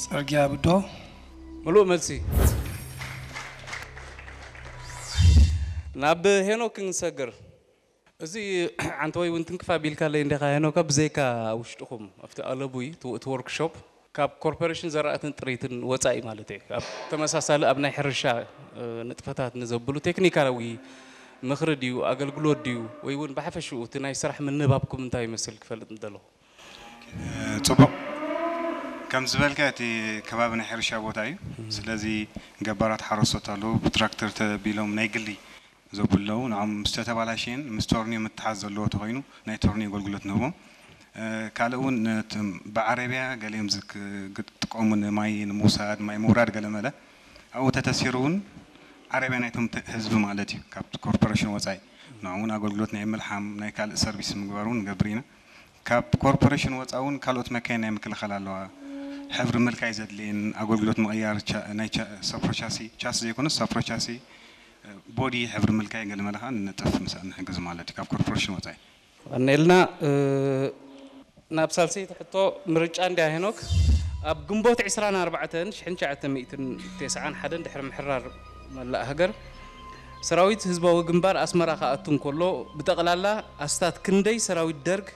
ጽርግያ ብዶ? ምሉእ መልሲ። ናብ ሄኖክ ክንሰግር። እዚ ዓንተወይ እውን ትንክፍ ኣቢልካለይ እንዲኻ ሄኖካ፣ ብዘይካ ውሽጥኹም ኣብቲ ኣለቡይ እቲ እቲ ወርክሾፕ ካብ ኮርፖሬሽን ዘራእትን ጥሪትን ወፃኢ ማለት እዩ። ኣብ ተመሳሳሊ ኣብ ናይ ሕርሻ እ፣ ንጥፈታት ንዘብሉ ቴክኒካዊ ምኽሪ ድዩ ኣገልግሎት ድዩ ወይ እውን ብሓፈሽኡ እቲ ናይ ስራሕ ምንባብኩም እንታይ ይመስል ክፈልጥ ምደለኹ። ጽቡቕ። ከም ዝበልካ እቲ ከባቢ ናይ ሕርሻ ቦታ እዩ። ስለዚ ገባራት ሓረስቶት ኣለዉ፣ ብትራክተር ተቢሎም ናይ ግሊ ዘብሉ ኣለዉ። ንዖም ምስ ተተባላሸየን ምስ ቶርኒዮ ምትሓዝ ዘለዎ ተኾይኑ ናይ ቶርኒዮ ኣገልግሎት ንህቦም። እ፣ ካልእ እውን ነቲ ብዓረብያ ገሊኦም ዝክ- ዝጥቀሙ ንማይ ንምውሳድ ማይ ምውራድ ገለ መለ ኣብኡ ተተሲሩ እውን ዓረብያ ናይቶም ተ- ህዝቢ ማለት እዩ ካብቲ ኮርፖሬሽን ወፃኢ ንዕኡ እውን ኣገልግሎት ናይ ምልሓም ናይ ካልእ ሰርቪስ ምግባር እውን ንገብር ኢና። ካብ ኮርፖሬሽን ወፃኢ እውን ካልኦት መካይን ናይ ምክልኻል ኣለዋ። ሕብሪ ምልካይ ዘድልየን ኣገልግሎት ምቕያር ቻ- ናይ ቻ- ሰፍሮ ቻሲ ቻስ ዘይኮነስ ሰፍሮ ቻሲ ቦዲ ሕብሪ ምልካይ ገለ መለ ከዓ ንነጥፍ ምስ ንሕግዝ ማለት እዩ ካብ ኮርፖሬሽን ወፃኢ። ቀኒልና እ፣ ናብ ሳልሰይቲ ሕቶ ምርጫ እንድያ ሄኖክ። ኣብ ግንቦት ዕስራን ኣርባዕተን ሽሕን ትሽዓተ ሚእትን ተስዓን ሓደን ድሕሪ ምሕራር መላእ ሃገር ሰራዊት ህዝባዊ ግንባር ኣስመራ ክኣቱ እንከሎ ብጠቕላላ ኣስታት ክንደይ ሰራዊት ደርግ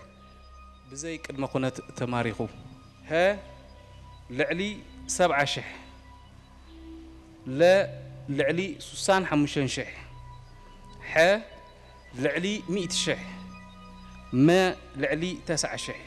ብዘይ ቅድመ ኩነት ተማሪኹ? ሀ ልዕሊ ሰብዓ ሽሕ፣ ለ ልዕሊ ሱሳን ሓሙሽተን ሽሕ፣ ሐ ልዕሊ ሚእቲ ሽሕ፣ መ ልዕሊ ተስዓ ሽሕ።